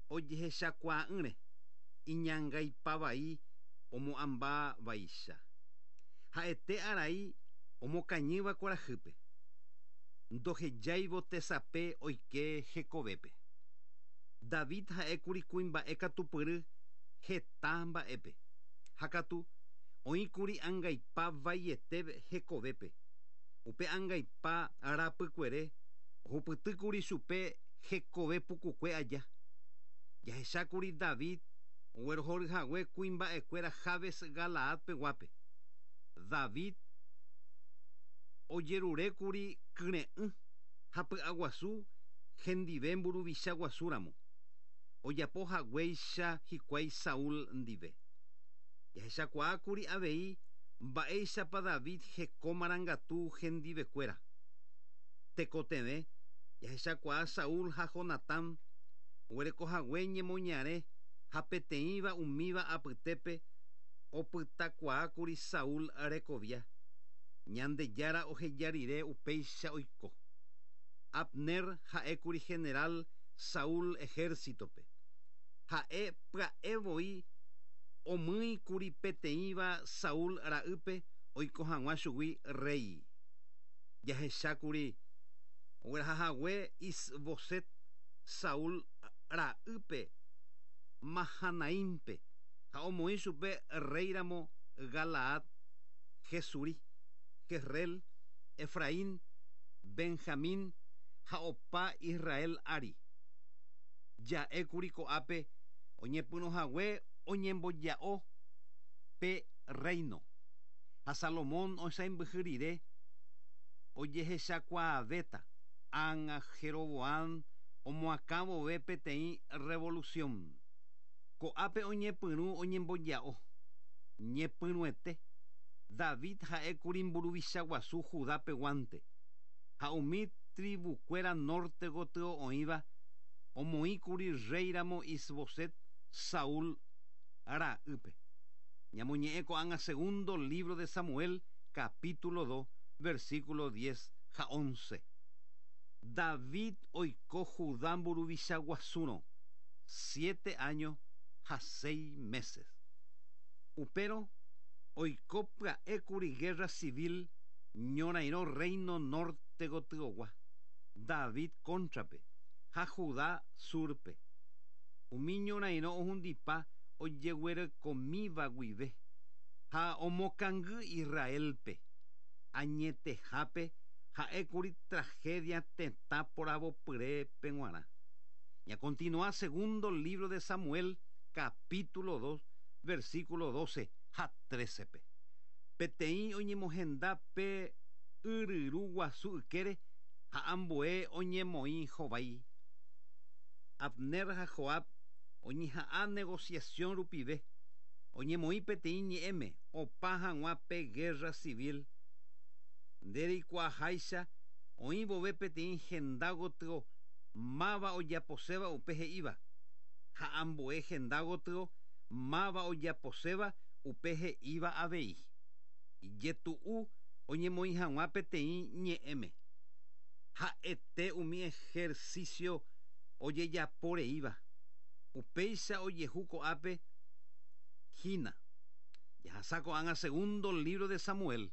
Ojehechakuaa'ỹre, iñangaipa vai omo'ãmba vaicha. Ha'ete arai omokañýva kuarahýpe, ndohejáivo tesape oike hekovépe. David ha'ékuri kuimba'e katupyry heta mba'épe, ha katu oĩkuri angaipa vaiete hekovépe. Upe angaipa rapykuere ohupytýkuri chupe hekove pukukue aja. Jahechákuri David oguerohoryhague kuimba'ekuéra Jabes Galaad peguápe. David ojerurékuri kyre'ỹ ha py'aguasu hendive mburuvicha guasúramo, ojapo haguéicha hikuái Saúl ndive. Jahechakuaákuri avei mba'éichapa David heko marangatu hendivekuéra. Tekotevẽ jahechakuaa Saúl ha Jonatán oguerekohague ñemoñare ha peteĩva umíva apytépe opytakuaákuri Saúl rekovia, Ñandejára oheja rire upéicha oiko. Abner ha'ékuri general Saúl ehérsitope. Ha'e pya'e voi omýikuri peteĩva Saúl ra'ýpe oiko hag̃ua chugui rréi. Jahechákuri oguerahahague Is-Boset Saúl ra'ýpe Mahanaímpe ha omoĩ chupe rréiramo Galaad, Gesuri, Jezreel, Efraín, Benjamín ha opa Israel ári. Ja'ékuri ko'ápe oñepyrũhague oñemboja'o pe rréino. Ha Salomón osãimbyhy rire ojehechakuaavéta ág̃a Jeroboán omoakã vove peteĩ rrevolusión. Ko'ápe oñepyrũ oñemboja'o. Ñepyrũete, David ha'ékuri mburuvicha guasu Judá peguánte, ha umi trivukuéra nórte gotyo oĩva omoĩkuri rréiramo Isboset, Saúl ra'ýpe. Ñamoñe'ẽ ko'ág̃a segundo lívro de Samuel, capítulo dos, versículo diez ha once. David oiko Judá mburuvicha guasúrõ siete áño ha seis meses. Upérõ oiko pya'ékuri gérra civil ñorairõ rréino nórte gotyogua, David kóntrape, ha Judá súrpe. Umi ñorairõ ohundipa ojeguerekomíva guive ha omokangy Israélpe. Añetehápe ha'ékuri tragedia tetã poravopyrépe g̃uarã. Ñakontinua segundo lívro de Samuel capítulo dos, versículo doce ha trécepe. Peteĩ oñemohenda pe yryru guasu ykére ha ambue oñemoĩ hovái. Abner ha Joab oñeha'ã negosiasión rupive oñemoĩ peteĩ ñe'ẽme opa hag̃ua pe gérra sivil. Nde reikuaaháicha oĩ vove peteĩ henda gotyo máva ojaposéva upe he'íva, ha ambue henda gotyo máva ojaposéva upe he'íva avei. Ijetu'u oñemoĩ hag̃ua peteĩ ñe'ẽme. Ha'ete umi ehersísio ojejapo reíva. Upéicha ojehu ko'ápe hína. Jahasa ko'ág̃a segundo lívro de Samuel,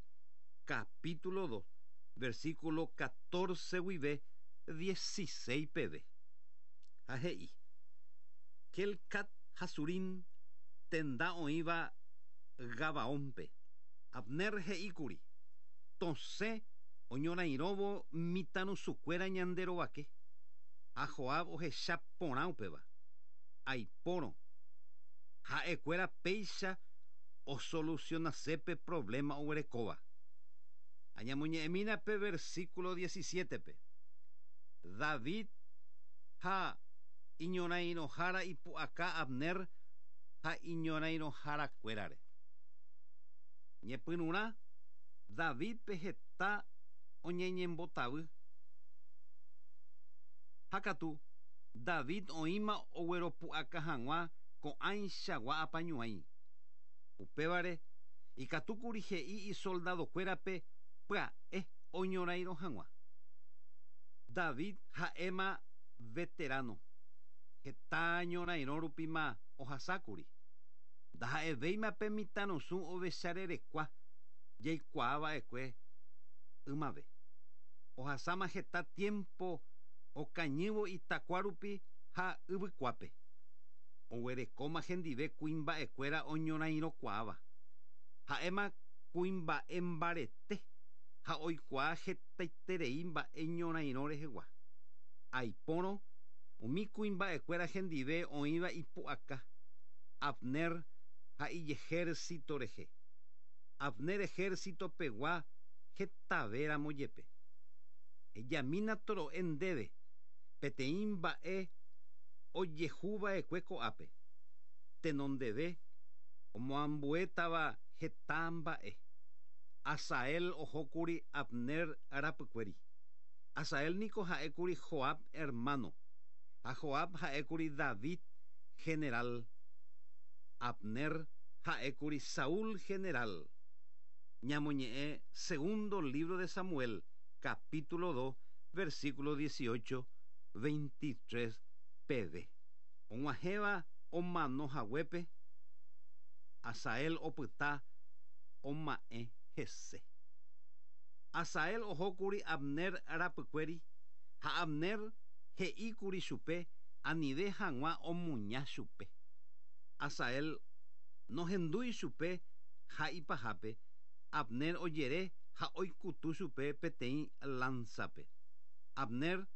capítulo dos, versículo catorce guive dieciséis peve. Ha he'i, Helcat ha Surim, tenda oĩva Gabaónpe. Abner he'íkuri, Tosẽ oñorairõvo mitãrusukuéra ñande rovake. Ha Joab ohecha porã upéva. Aipórõ, ha'ekuéra péicha osolusionase pe provléma oguerekóva. Añamoñe'ẽmína pe versíkulo diecisiétepe, David ha iñorairõhára ipu'aka Abner ha iñorairõharakuérare. Ñepyrũrã, Davídpe heta oñeñembotavy. Ha katu, David oĩma ogueropu'aka hag̃ua ko'ãichagua apañuãi. Upévare, ikatúkuri he'i isoldadokuérape pya'e oñorairõ hag̃ua. David ha'éma veteráno. Heta ñorairõ rupíma ohasákuri. Ndaha'evéima pe mitãrusu ovecharerekua jaikuaa va'ekue ymave. Ohasáma heta tiémpo okañývo itakua rupi ha yvykuápe. Oguerekóma hendive kuimba'ekuéra oñorairõkuaáva. Ha'éma kuimba'e mbarete ha oikuaa hetaiterei mba'e ñorairõ rehegua. Aipórõ umi kuimba'ekuéra hendive oĩva ipu'aka Abner ha ijehérsito rehe. Abner ehérsito pegua hetavéramo jepe. Hejamína toro'e ndéve peteĩ mba'e ojehuva'ekue ko'ápe, tenondeve omoambuétava heta mba'e. Asael ohókuri Abner rapykuéri. Asael niko ha'ékuri Joab ermáno, ha Joab ha'ékuri David general. Abner ha'ékuri Saúl general. Ñamoñe'ẽ Segundo lívro de Samuel, capítulo 2, versículo 18, 23 peve. Og̃uahẽva omano haguépe, Asael opyta oma'ẽ hese. Asael ohókuri Abner rapykuéri ha Abner he'íkuri chupe anive hag̃ua omuña chupe. Asael nohendúi chupe ha ipahápe Abner ojere ha oikutu chupe peteĩ lánsape. Abner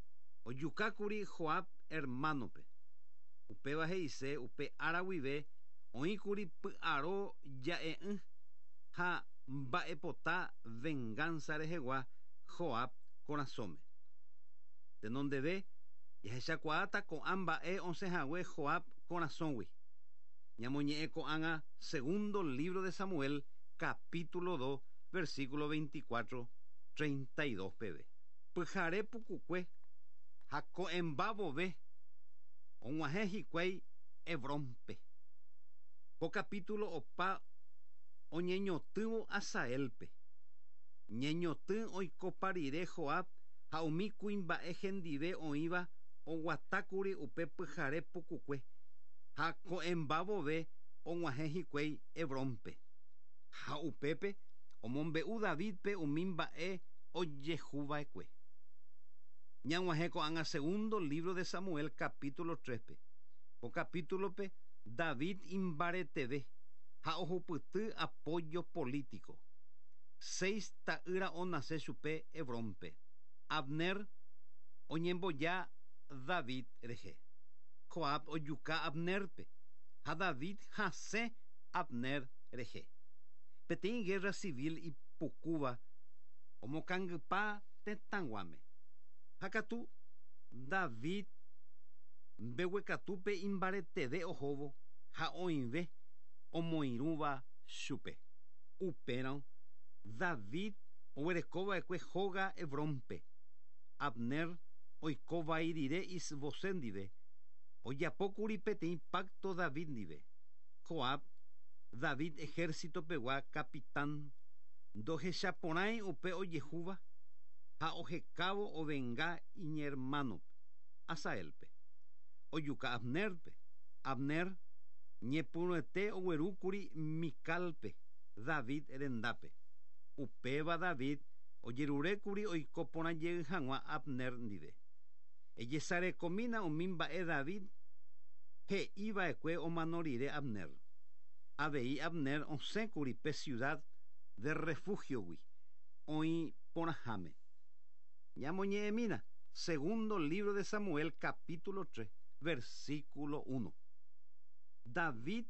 ojukákuri Joab ermánope. Upéva he'ise upe ára guive oĩkuri py'aro ja'e'ỹ ha mba'epota vengánsa rehegua Joab korasõme. Tenondeve, jahechakuaáta ko'ã mba'e osẽhague Joab korasõgui. Ñamoñe'ẽ ko'ág̃a Segundo lívro de Samuel, capítulo 2, versículo 24, 32 peve. Pyhare pukukue ha ko'ẽmba vove og̃uahẽ hikuái Hebrónpe. Ko capítulo opa oñeñotỹvo Asaélpe. Ñeñotỹ oikopa rire Joab ha umi kuimba'e hendive oĩva oguatákuri upe pyhare pukukue, ha ko'ẽmba vove og̃uahẽ hikuái Hebrónpe. Ha upépe omombe'u Davídpe umi mba'e ojehuva'ekue. Ñag̃uahẽ ko'ág̃a Segundo lívro de Samuel capítulo 3-pe. Ko capítulo-pe David imbareteve ha ohupyty apoyo político. Seis ta'ýra onase chupe Hebrónpe. Abner oñemboja David rehe. Joab ojuka Abnérpe, ha David hasẽ Abner rehe. Peteĩ guerra civil ipukúva omokangypa tetãguáme. Ha katu David mbeguekatúpe imbareteve ohóvo ha oĩve omoirũva chupe. Upérõ David oguereko va'ekue hóga Hebrónpe. Abner oiko vai rire Is-Bosé ndive, ojapo kuri peteĩ pákto David ndive. Joab, David ehérsito pegua kapitán, ndohechaporãi upe ojehúva ha ohekávo ovenga iñermánope, Asaélpe. Ojuka Abnérpe. Abner ñepyrũete oguerúkuri Micálpe, David rendápe. Upéva David ojerurékuri oiko porã jey hag̃ua Abner ndive. Ejesarekomína umi mba'e David he'i va'ekue omano rire Abner. Avei Abner osẽkuri pe ciudad de refúgio-gui, oĩ porãháme. Ñamoñe'ẽmína Segundo lívro de Samuel capítulo 3, versículo 1. David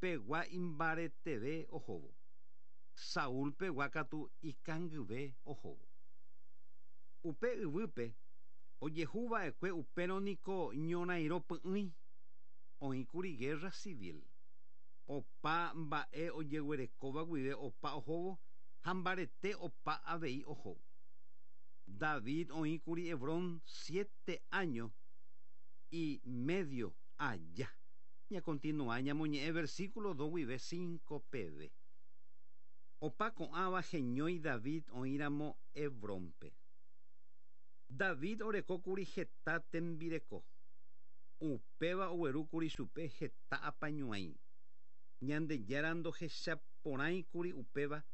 pegua imbareteve ohóvo, Saúl pegua katu ikangyve ohóvo. Upe yvýpe ojehu va'ekue upérõ niko ñorairõ py'ỹi, oĩkuri guerra civil. Opa mba'e ojeguerekóva guive opa ohóvo ha mbarete opa avei ohóvo. David oĩkuri Hebrón siete áño y medio aja. Ñakontinua ñamoñe'ẽ versículo 2 guive 5 peve. Opa ko'ãva heñói David oĩramo Hebrónpe. David orekókuri heta tembireko. Upéva oguerúkuri chupe heta apañuãi. Ñandejára ndohechaporãikuri upéva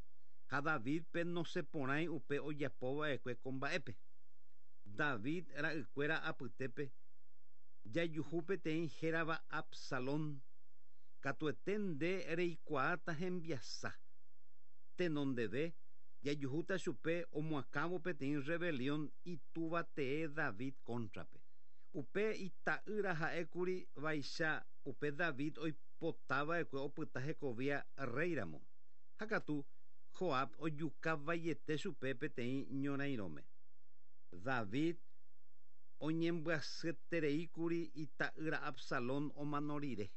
ha Davídpe nosẽporãi upe ojapova'ekue ko mba'épe. David ra'ykuéra apytépe jajuhu peteĩ hérava Absalón. Katuete nde reikuaáta hembiasa. Tenondeve jajuhúta chupe omoakãvo peteĩ rebelión itúva tee David kóntrape. Upe ita'ýra ha'ékuri vaicha upe David oipotava'ekue opyta hekovia rréiramo. Ha katu Joab ojuka vaiete chupe peteĩ ñorairõme. David oñembyasyetereíkuri ita'ýra Absalón omano rire.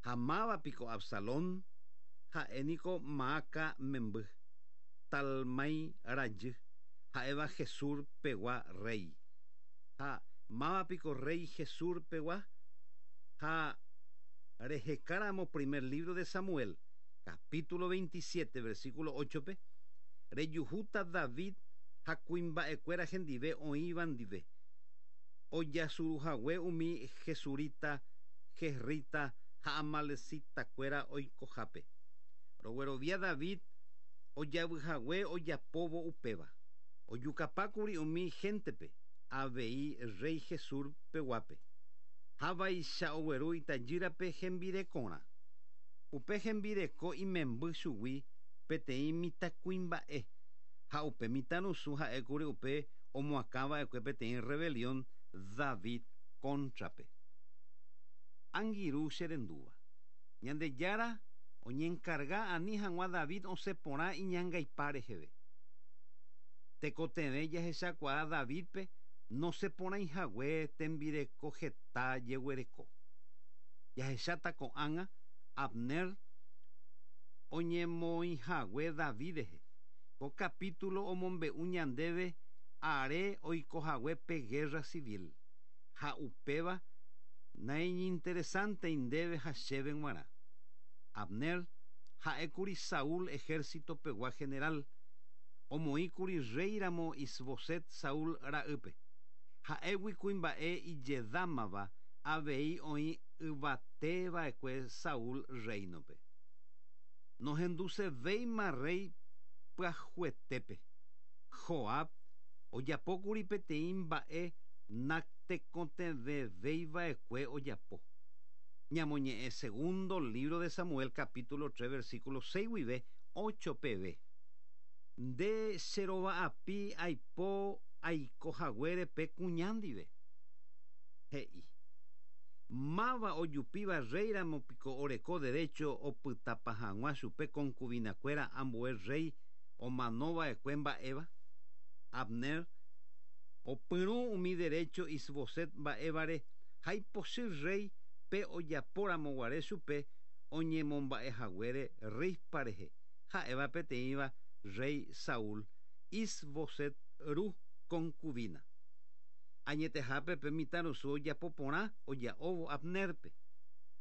Ha máva piko Absalón? Ha'e niko Maaca memby, Talmai rajy, ha'éva Gesur pegua rréi. Ha máva piko rréi Gesur pegua? Ha rehekáramo primer lívro de Samuel, capítulo 27, versículo 8-pe, rejuhúta David ha kuimba'ekuéra hendive oĩva ndive, ojasuruhague umi gesurita, jezrita ha amalecita-kuéra oikohápe. Roguerovia David ojavyhague ojapóvo upéva. Ojukapákuri umi héntepe, avei rréi Gesur peguápe. Ha vaicha ogueru itajýrape hembirekorã. Upe hembireko imemby chugui peteĩ mitãkuimba'e, ha upe mitãrusu ha'ékuri upe omoakãva'ekue peteĩ rebelión David kóntrape. Angirũ che rendúva. Ñandejára oñenkarga ani hag̃ua David osẽ porã iñangaipa reheve. Tekotevẽ jahechakuaa Davídpe nosẽporãihague tembireko heta jeguereko. Jahecháta ko'ág̃a Abner oñemoĩhague David rehe. Ko capítulo omombe'u ñandéve are oikohague pe guerra civil, ha upéva naiñinteresántei ndéve ha chéve g̃uarã. Abner ha'ékuri Saúl ejército-pegua general, omoĩkuri rréiramo Isboset Saúl ra'ýpe. Ha'égui kuimba'e ijedámava avei oĩ yvate va'ekue Saúl rréinope. Nohendusevéima rréi pyahuetépe. Joab ojapókuri peteĩ mba'e natekotevẽvéi va'ekue ojapo. Ñamoñe'ẽ segundo lívro de Samuel capítulo 3 versículo 6 guive 8 peve. Nde che rova'api aipo aiko haguére pe kuña ndive. He'i. Máva ojupíva rréiramo piko oreko derécho opytapa hag̃ua chupe konkuvinakuéra ambue rréi omano va'ekue mba'éva? Abner opyrũ umi derécho Isboset mba'évare ha ipochy rréi pe ojapóramo guare chupe oñemomba'e haguére Rizpa rehe, ha'éva peteĩva rréi Saúl, Is-Boset ru konkuvina. Añetehápe pe mitãrusu ojapo porã oja'óvo Abnérpe.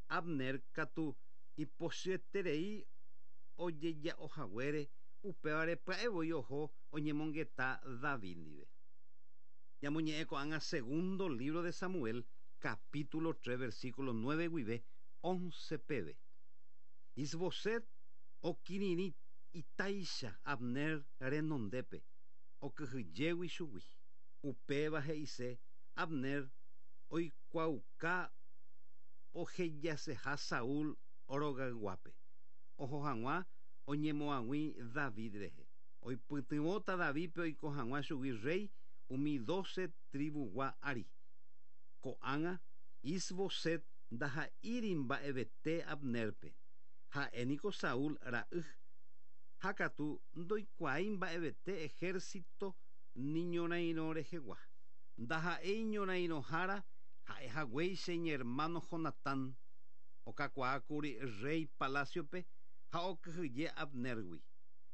Abner katu ipochyeterei ojeja'o haguére, upévare pya'e voi oho oñemongeta David ndive. Ñamoñe'ẽ ko'ág̃a segundo lívro de Samuel, capítulo 3, versículo 9 guive 11 peve. Isboset okirirĩ itáicha Abner renondépe, okyhyjégui chugui. Upéva he'ise Abner oikuaauka ohejaseha Saúl rogayguápe, oho hag̃ua oñemoag̃ui David rehe. Oipytyvõta Davídpe oiko hag̃ua chugui rréi umi dóse trivugua ári. Ko'ág̃a Is-Boset ndaha'íri mba'evete Abnérpe, ha'e niko Saúl ra'y, ha katu ndoikuaái mba'evete ehérsito ni ñorairõ rehegua. Ndaha'éi ñorairõhára ha'e haguéicha iñermáno Jonatán, okakuaákuri rréi palásiope ha okyhyje Abnérgui.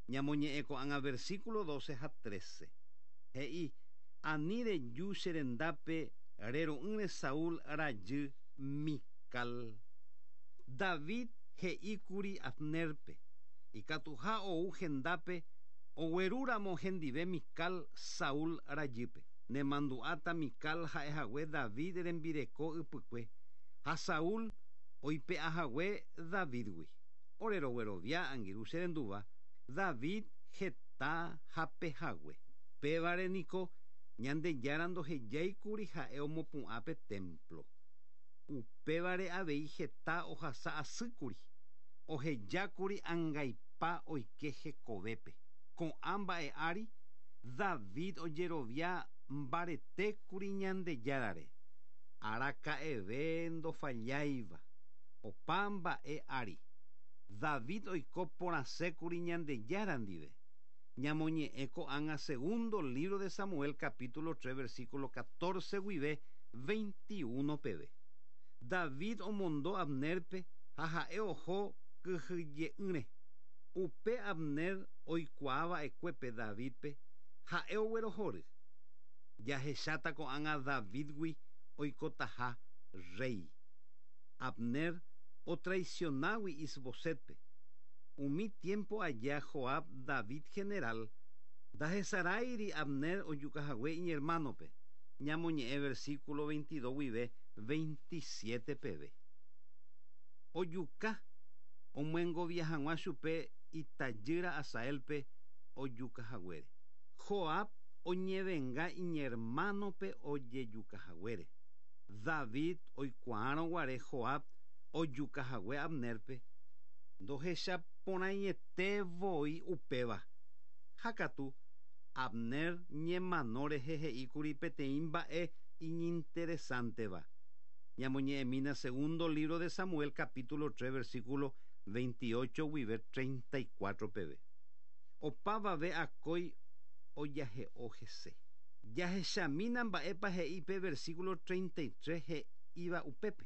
Ñamoñe'ẽ ko'ág̃a versículo 12 ha 13. He'i, Ani reju che rendápe rero'ỹre Saúl rajy Mical. David he'íkuri Abnérpe ikatuha ou hendápe oguerúramo hendive Mical Saúl rajýpe. Nemandu'áta Mical ha'ehague David rembireko ypykue ha Saúl oipe'ahague Davídgui. Ore roguerovia, angirũ che rendúva, David heta hapehague. Pévare niko Ñandejára ndohejáikuri ha'e omopu'ã pe témplo. Upévare avei heta ohasa asýkuri, ohejákuri angaipa oike hekovépe. Ko'ã mba'e ári, David ojerovia mbaretékuri Ñandejárare, araka'eve ndofalláiva. Opa mba'e ári, David oiko porãsékuri Ñandejára ndive. Ñamoñe'ẽ ko'ág̃a segundo lívro de Samuel capítulo 3 versículo 14 guive 21 peve. David omondo Abnérpe ha ha'e oho kyhyje'ỹre. Upe Abner oikuaa va'ekuépe Davídpe, ha'e oguerohory. Jahecháta ko'ág̃a Davídgui oikotaha rréi. Abner otraisionágui Isbosétpe. Umi tiémpo aja Joab, David generál, ndahesaráiri Abner ojukahague iñermánope, ñamoñe'ẽ versículo 22 guive 27 peve. Ojuka omyengovia hag̃ua chupe itajýra Asaélpe ojukahaguére. Joab oñevenga iñermánope ojejukahaguére. David oikuaárõ guare Joab ojukahague Abnérpe, ndohechaporãiete voi upéva. Ha katu, Abner ñemano rehe he'íkuri peteĩ mba'e iñinteresánteva. Ñamoñe'ẽmína segundo lívro de Samuel capítulo 3 versículo 28 guive 34 peve. Opavave akói ojahe'o hese. Jahechamína mba'épa he'i pe versículo 33 he'íva upépe.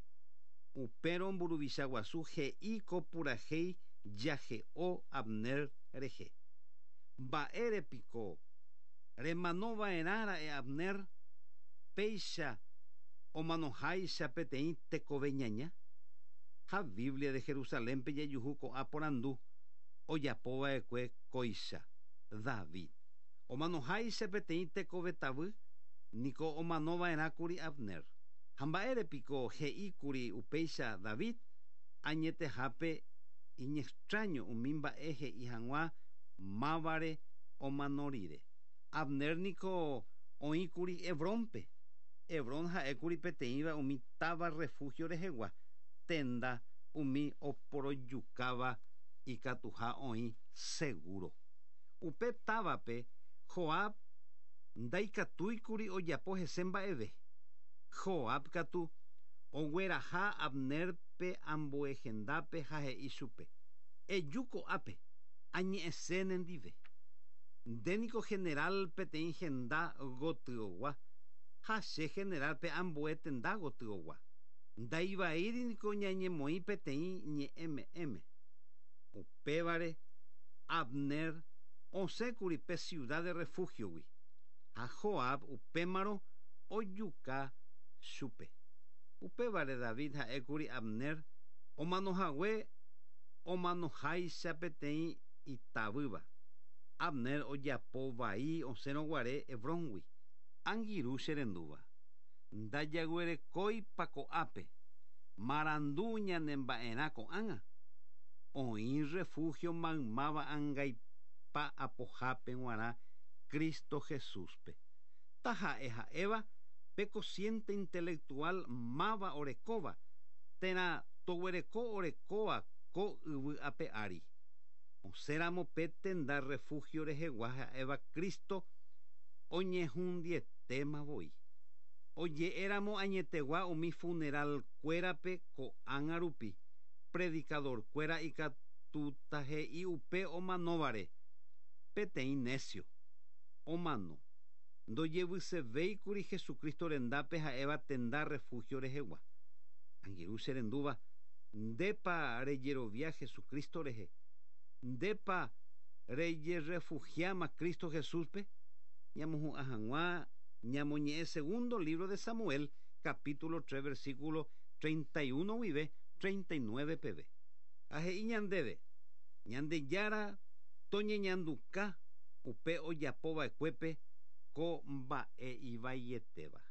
Upérõ mburuvicha guasu he'i ko purahéi jahe'o Abner rehe. Mba'ére piko remano va'erã ra'e Abner, péicha omanoháicha peteĩ tekove ñaña? Ha Biblia de Jerusalénpe jajuhu ko'ã porandu ojapo va'ekue kóicha, David. Omanoháicha peteĩ tekove tavy, niko omano va'erã kuri Abner. Ha mba'ére piko he'i kuri upéicha David? Añetehápe iñextráño umi mba'e he'i hag̃ua mávare omano rire. Abner niko oĩ kuri Hebrónpe. Hebrón ha'e kuri peteĩva umi táva refúhio rehegua, tenda umi oporojukáva ikatuha oĩ segúro. Upe távape Joab ndaikatúikuri ojapo hese mba'eve. Joab katu ogueraha Abnérpe ambue hendápe ha he'i chupe, Eju ko'ápe, añe'ẽse nendive. Nde niko generál peteĩ henda gotyogua ha che generál pe ambue tenda gotyogua. Ndaivaíri niko ñañemoĩ peteĩ ñe'ẽme'ẽme. Upévare Abner osẽkuri pe siuda de refúhiogui, ha Joab upémarõ ojuka chupe. Upévare David ha'ékuri Abner omanohague omanoháicha peteĩ itavýva. Abner ojapo vai osẽrõ guare Hebróngui. Angirũ che rendúva, ndajaguerekóipa ko'ápe marandu ñanemba'erã ko'ág̃a? Oĩ refúhio maymáva angaipa apohápe g̃uarã Cristo Jesúspe. Taha'e ha'éva pe cociente intelectual máva orekóva térã toguereko orekóva ko yvy ape ári. Osẽramo pe tenda refúhio rehegua ha'éva Cristo oñehundietéma voi. Oje'éramo añetegua umi funeral kuérape ko'ág̃a rupi, predicador kuéra ikatúta he'i upe omanóvare, peteĩ necio. Omano. Ndojevysevéikuri Jesucristo rendápe ha'éva tenda refúhio rehegua. Angirũ che rendúva, ndépa rejerovia Jesucristo rehe? Ndépa rejerrefugiáma Cristo Jesúspe? Ñamohu'ã hag̃ua ñamoñe'ẽ segundo lívro de Samuel, capítulo 3, versículo 31 guive 39 peve. Ha he'i ñandéve, Ñandejára toñeñanduka upe ojapo va'ekuépe Ko mba'e ivaietéva.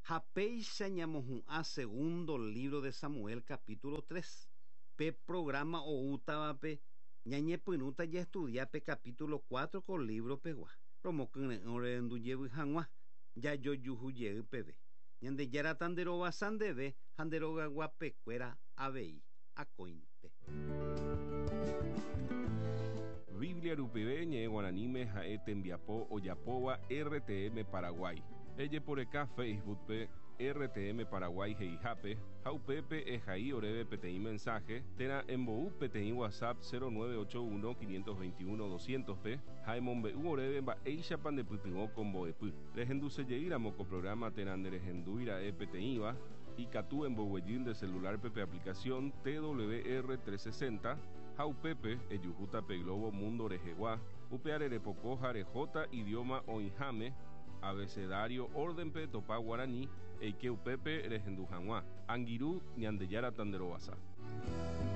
Ha péicha ñamohu'ã segundo libro de Samuel capítulo 3. Pe programa oútavape ñañepyrũta jaestudia pe capítulo 4 ko libro pegua. Romokyre'ỹ orerendu jevy hag̃ua jajojuhu jey peve. Ñandejára tanderovasa ndéve ha nde rogaguapekuéra avei akóinte. Biblia rupive ñe'ẽ guaraníme ha'e tembiapo ojapóva RTM Paraguay. Ejeporeka Facebook-pe RTM Paraguay he'ihápe ha upépe ehai oréve peteĩ mensaje térã embou peteĩ WhatsApp 0981 521 200-pe ha emombe'u oréve mba'éichapa ndepytyvõ ko mbo'epy. Rehendusejeýramo ko programa térã nderehendúira'e peteĩva, ikatu emboguejy nde celular-pe pe aplicación TWR 360 ha upépe ejuhúta pe globo mundo rehegua, upeare repoko ha rehóta idioma oĩháme, abecedario orden-pe topa guarani, eike upépe rehendu hag̃ua. Angirũ, Ñandejára tanderovasa.